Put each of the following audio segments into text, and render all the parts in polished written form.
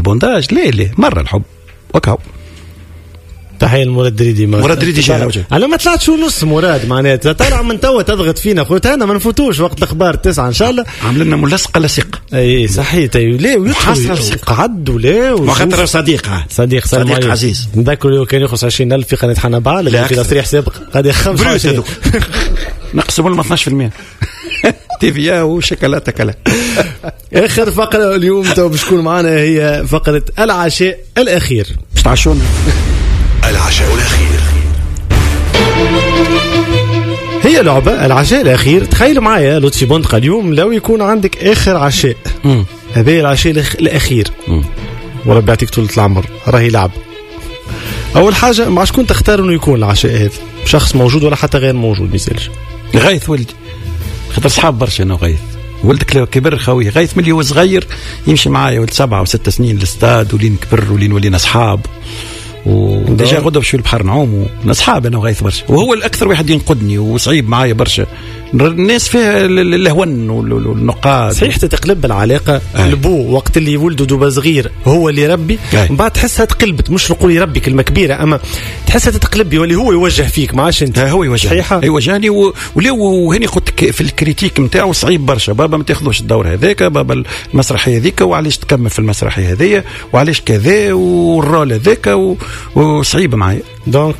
bondage. لا لا، مرة الحب وكهو. تحية لمراد دريدي. مراد دريدي جاي على ما طلعتش ونص مراد، معناتها طالع من توا تضغط فينا خويا، انا ما نفوتوش وقت الاخبار 9 ان شاء الله. عامل لنا ملصقه لصيقه. اي صحيح. لا ويدخل قعد ولا وخاطر صديق صديق عزيز. نذكر كان يخلص 20000 في قناة حنبعل في تصريح سابق غادي 25 نقسموا لهم 12% TVA وشوكولاته كلا. اخر فقره اليوم تو باش تكون معنا هي فقره العشاء الاخير. باش تعشونا العشاء الأخير. هي لعبة العشاء الأخير. تخيل معايا لطفي بندقة اليوم لو يكون عندك آخر عشاء، هذا العشاء الأخير، وربي يعطيك طولة العمر، راهي لعب. أول حاجة مع شكون تختار إنه يكون العشاء هذا؟ شخص موجود ولا حتى غير موجود ما يسألش. غايث ولدي، خاطر صحاب برشا أنا وغايث. ولدك لو كبر خوي غايث ملي هو صغير يمشي معايا، ولد 7 و6 سنين للاستاد، ولين كبر ولين ولينا أصحاب. و déjà غدوه باش البحر نعوم اصحاب انا وغايث برشا، وهو الاكثر واحد ينقدني وصعيب معايا برشا. الناس فيها الهون والنقاد. صحيح تتقلب العلاقة. البو وقت اللي ولده دوبا صغير هو اللي يربي، من بعد تحسها تقلبت، مش نقول يربي كلمة كبيرة، اما تحسها تتقلب يولي هو يوجه فيك ما عادش انت. هو يوجه، يوجهني وهني قلت في ال critique نتاعو صعيب برشا. بابا ما تاخذوش الدور هذاك، بابا المسرحية هذيك، وعلاش تكمل في المسرحية هذيا، وعلاش كذا، وال rôle هذاك، وصعيب معايا. donc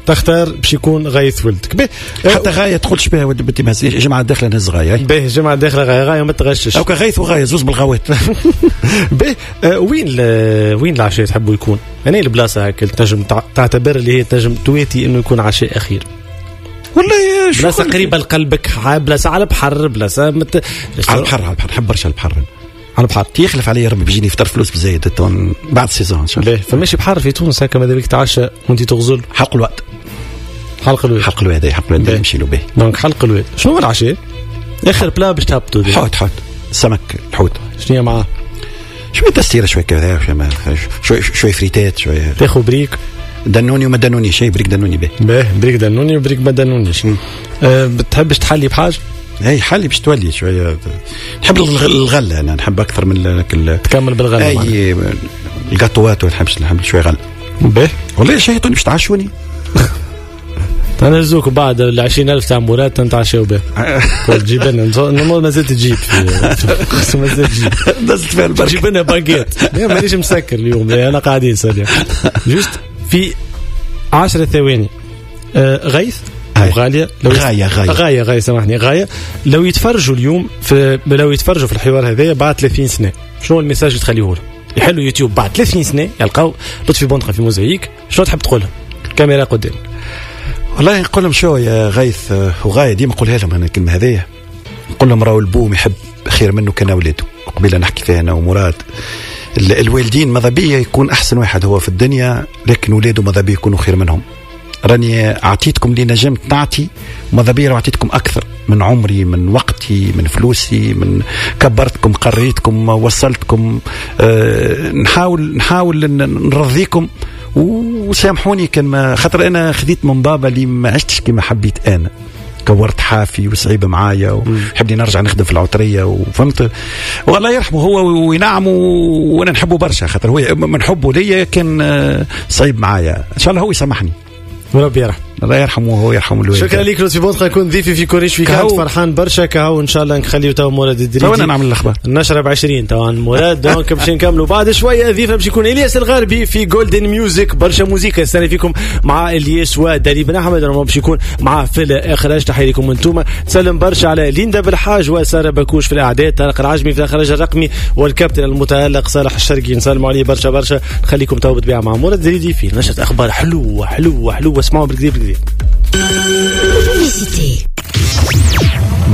تختار باش يكون غايث ولدك. به حتى غاية تقولش بها ولد بنتي، ما جمعه داخله نهز غاية. به جمعه داخله غاية، غاية ما تغشش. او غايث وغاية زوز بالغوات. به وين العشاء تحبوا يكون؟ انا البلاصة هكا تنجم تعتبر اللي هي تنجم تواتي انه يكون عشاء اخير. والله بلاصة قريبه لقلبك، بلاصة على البحر، بلاصة على البحر. على البحر نحب برشا البحر. على البحر يخلف علي ربي بيجيني فطر فلوس بزايد بعد ال saison ان شاء الله. فماشي بحر في تونس هكا ماذا بيك تعشى وانت تغزل؟ حلق الواد. حلق الواد. حلق الواد، حلق الواد نمشي له به. donc حلق الواد. شنو هو العشاء؟ اخر plat باش تهبطوا؟ حوت، حوت سمك، الحوت. شنو معاه؟ شوية تستيره، شوية كذا، شوية فريتات، شوية تاخذ بريك دنوني وما دنوني شيء. بريك دنوني به. به بريك دنوني وبريك ما دنونيش. بتحبش تحلي بحاجة؟ اي حالي باش تولي شوية. نحب الغلة انا، نحب اكثر من تكمل بالغله. اي الكاطوات، نحب شوية غله. به والله شهيتوني باش تعشوني. تنزوك بعد ال 20000 تاع مراد تنتعشاو به. تجيب لنا ما زلت تجيب، ما زلت تجيب، دزت فيها البركة. تجيب لنا باكيت. مانيش مسكر اليوم، انا قاعدين سالي juste في 10 ثواني. غيث وغالية، لو غاية غاية غاية غاية سامحني غاية، لو يتفرجوا اليوم في، لو يتفرجوا في الحوار هذايا بعد 30 سنة، شنو ال message اللي تخليه لهم؟ يحلوا يوتيوب بعد 30 سنة يلقاو لطفي بندقة في موزايك، شنو تحب تقول لهم؟ الكاميرا قدامك. والله نقول لهم شو يا غيث وغاية، ديما نقولها لهم انا الكلمة هذيا، نقول لهم راهو البوم يحب خير منه كان اولاده. قبيلة نحكي فيها انا ومراد، الوالدين ماذا بيا يكون احسن واحد هو في الدنيا، لكن ولاده ماذا بيا يكونوا خير منهم. راني اعطيتكم اللي نجمت نعطي، ماذا بيا اعطيتكم اكثر من عمري، من وقتي، من فلوسي، من كبرتكم، قريتكم، وصلتكم. نحاول نرضيكم وسامحوني كان ما خاطر انا خذيت من بابا اللي ما عشتش كما حبيت انا، كورت حافي وصعيب معايا وحبني نرجع نخدم في العطريه وفهمت. والله يرحمه هو وينعمه، وانا نحبه برشا خاطر هو من حبه ليا كان صعيب معايا. ان شاء الله هو يسامحني وربي يرحم. الله يرحمه وهو يرحم الوالد. شكرا لك لطفي بندقة، كنت ضيفي في كوريش في كانت فرحان برشا كهو. ان شاء الله نخليو تو مراد الدريدي تو انا نعمل الاخبار النشرة ب20 تو مراد. donc باش نكملوا بعد شوية ضيفه باش يكون الياس الغربي في Golden Music، برشا موزيكا استنى فيكم مع الياس ودالي بن احمد، باش يكون معاه في الاخراج. تحية لكم انتم. سلم برشا على ليندا بالحاج وسارة بكوش في الاعداد، طارق العجمي في الاخراج الرقمي، والكابتن المتالق صالح الشرقي، نسلموا عليه برشا برشا. نخليكم تو بالطبيعة مع مراد الدريدي في نشره اخبار حلوة حلوة حلوة، اسمعوا بالكذب بالكذب.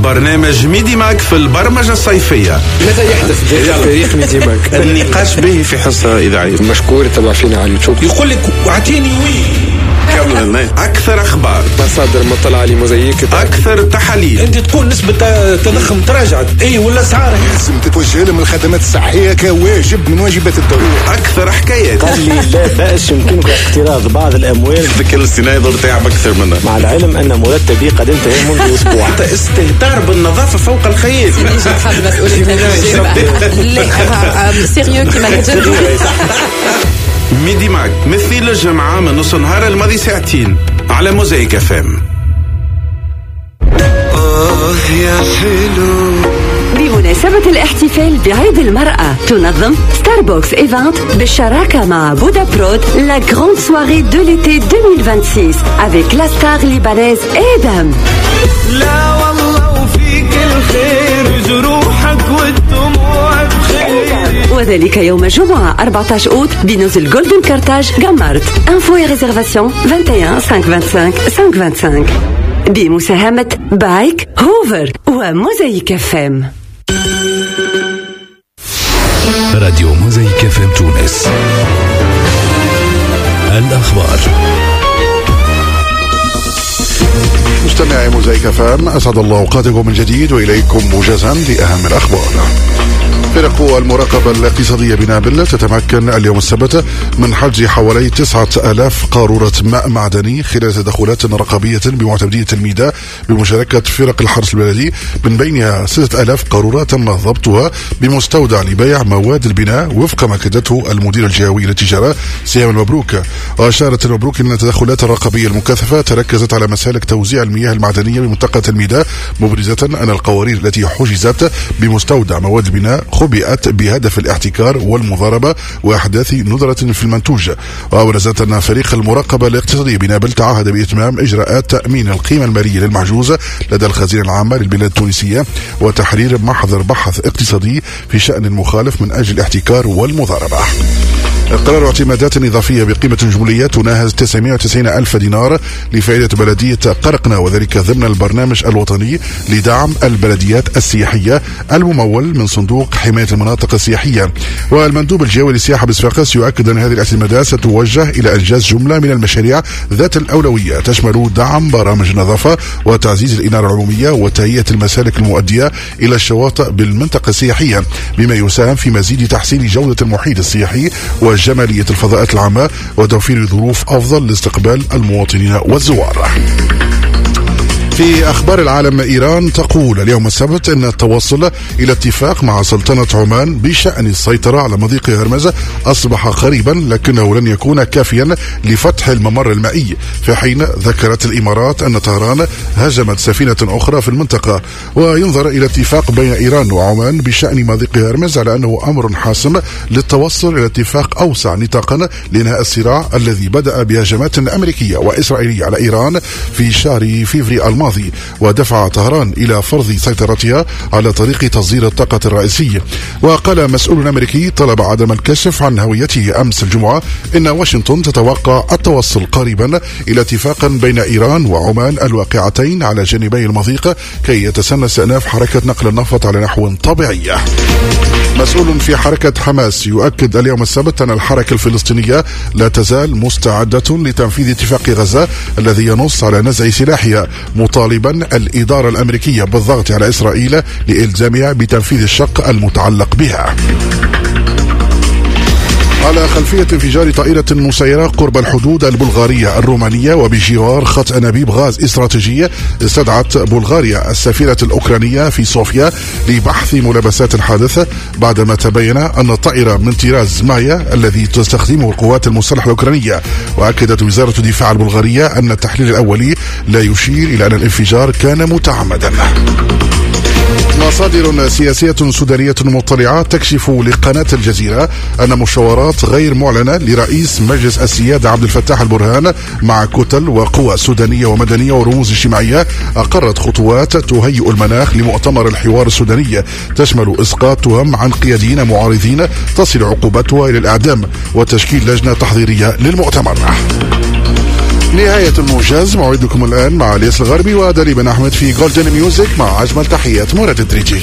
برنامج ميدي ماك في البرمجة الصيفية. ماذا يحدث داخل فريق ميدي ماك؟ النقاش به في حصة إذاعية. مشكور تبع فينا على اليوتيوب. يقول لك اعطيني oui. اكثر اخبار، مصادر مطلعه لموزايك، اكثر تحاليل. انت تقول نسبه التضخم تراجعت، اي ولا اسعار لازم تتوجه لهم الخدمات الصحية كواجب من واجبات الدولة. اكثر حكايات. قال لي لا باس يمكنك اقتراض بعض الاموال. الذكاء الاصطناعي ضر تعب اكثر منا، مع العلم ان مرتبي قد انتهى منذ اسبوع. حتى استهتار بالنظافة فوق الخيال. لا sérieux كيما Midi Mag مثل الجمعة من نص نهار الماضي ساعتين على موزايك FM. يا حلو. بمناسبة الاحتفال بعيد المرأة تنظم ستاربوكس Event بالشراكة مع بودا برود la grande soirée de l'été 2026 avec la star libanaise آدم. لا والله وفيك الخير، جروحك والدموع بخير. وذلك يوم الجمعة 14 أوت بنزل جولدن كارتاج جمارت. info et réservations 21 525 525 بمساهمة بايك هوفر وموزايك FM. راديو موزايك FM تونس. الأخبار. مستمعي موزايك FM، أسعد الله أوقاتكم من جديد وإليكم موجزا لأهم الأخبار. فرق المراقبة الاقتصادية بنابل تتمكن اليوم السبت من حجز حوالي 9000 قارورة ماء معدني خلال تدخلات رقابية بمعتمدية الميداء بمشاركة فرق الحرس البلدي، من بينها 6000 قارورة تم ضبطها بمستودع لبيع مواد البناء وفق ما أكدته المدير الجهوي للتجارة سهام المبروك. وأشارت المبروك أن التدخلات الرقابية المكثفة تركزت على مسالك توزيع المياه المعدنية بمنطقة الميداء، مبرزة أن القوارير التي حجزت بمستودع مواد البناء خبئت بهدف الاحتكار والمضاربة وأحداث ندرة في المنتوج. وأبرزت أن فريق المراقبة الاقتصادية بنابل تعهد بإتمام إجراءات تأمين القيمة المالية للمحجوز لدى الخزينة العامة للبلاد التونسية وتحرير محضر بحث اقتصادي في شأن المخالف من أجل الاحتكار والمضاربة. قرار اعتمادات إضافية بقيمة جملية تناهز 990 ألف دينار لفائدة بلدية قرقنة، وذلك ضمن البرنامج الوطني لدعم البلديات السياحية الممول من صندوق حماية المناطق السياحية. والمندوب الجوي للسياحة بصفاقس يؤكد أن هذه الاعتمادات ستوجه إلى إنجاز جملة من المشاريع ذات الأولوية تشمل دعم برامج النظافة وتعزيز الإنارة العمومية وتهيئة المسالك المؤدية إلى الشواطئ بالمنطقة السياحية، بما يساهم في مزيد تحسين جودة المحيط السياحي وجمالية الفضاءات العامة وتوفير ظروف أفضل لاستقبال المواطنين والزوار. في أخبار العالم، إيران تقول اليوم السبت أن التوصل إلى اتفاق مع سلطنة عمان بشأن السيطرة على مضيق هرمز أصبح قريبا، لكنه لن يكون كافيا لفتح الممر المائي، في حين ذكرت الإمارات أن طهران هاجمت سفينة أخرى في المنطقة. وينظر إلى اتفاق بين إيران وعمان بشأن مضيق هرمز على أنه أمر حاسم للتوصل إلى اتفاق أوسع نطاقا لإنهاء الصراع الذي بدأ بهجمات أمريكية وإسرائيلية على إيران في شهر فيفري الماضي، ودفع طهران إلى فرض سيطرتها على طريق تصدير الطاقة الرئيسي. وقال مسؤول أمريكي طلب عدم الكشف عن هويته أمس الجمعة إن واشنطن تتوقع التوصل قريبا إلى اتفاق بين إيران وعمان الواقعتين على جانبي المضيق كي يتسنى استئناف حركة نقل النفط على نحو طبيعي. مسؤول في حركة حماس يؤكد اليوم السبت أن الحركة الفلسطينية لا تزال مستعدة لتنفيذ اتفاق غزة الذي ينص على نزع سلاحها، مطالبا الإدارة الأمريكية بالضغط على إسرائيل لإلزامها بتنفيذ الشق المتعلق بها. على خلفية انفجار طائرة مسيرة قرب الحدود البلغارية الرومانية وبجوار خط أنابيب غاز استراتيجية، استدعت بلغاريا السفيرة الأوكرانية في صوفيا لبحث ملابسات الحادث بعدما تبين أن الطائرة من طراز مايا الذي تستخدمه القوات المسلحة الأوكرانية. وأكدت وزارة الدفاع البلغارية أن التحليل الأولي لا يشير إلى أن الانفجار كان متعمدا. مصادر سياسية سودانية مطلعة تكشف لقناة الجزيرة أن مشاورات غير معلنة لرئيس مجلس السيادة عبد الفتاح البرهان مع كتل وقوى سودانية ومدنية ورموز اجتماعية أقرت خطوات تهيئ المناخ لمؤتمر الحوار السوداني تشمل إسقاط تهم عن قياديين معارضين تصل عقوبتها إلى الإعدام وتشكيل لجنة تحضيرية للمؤتمر. نهاية الموجز، موعدكم الآن مع الياس الغربي ودالي بن أحمد في Golden Music مع أجمل تحيات مراد الدريجي.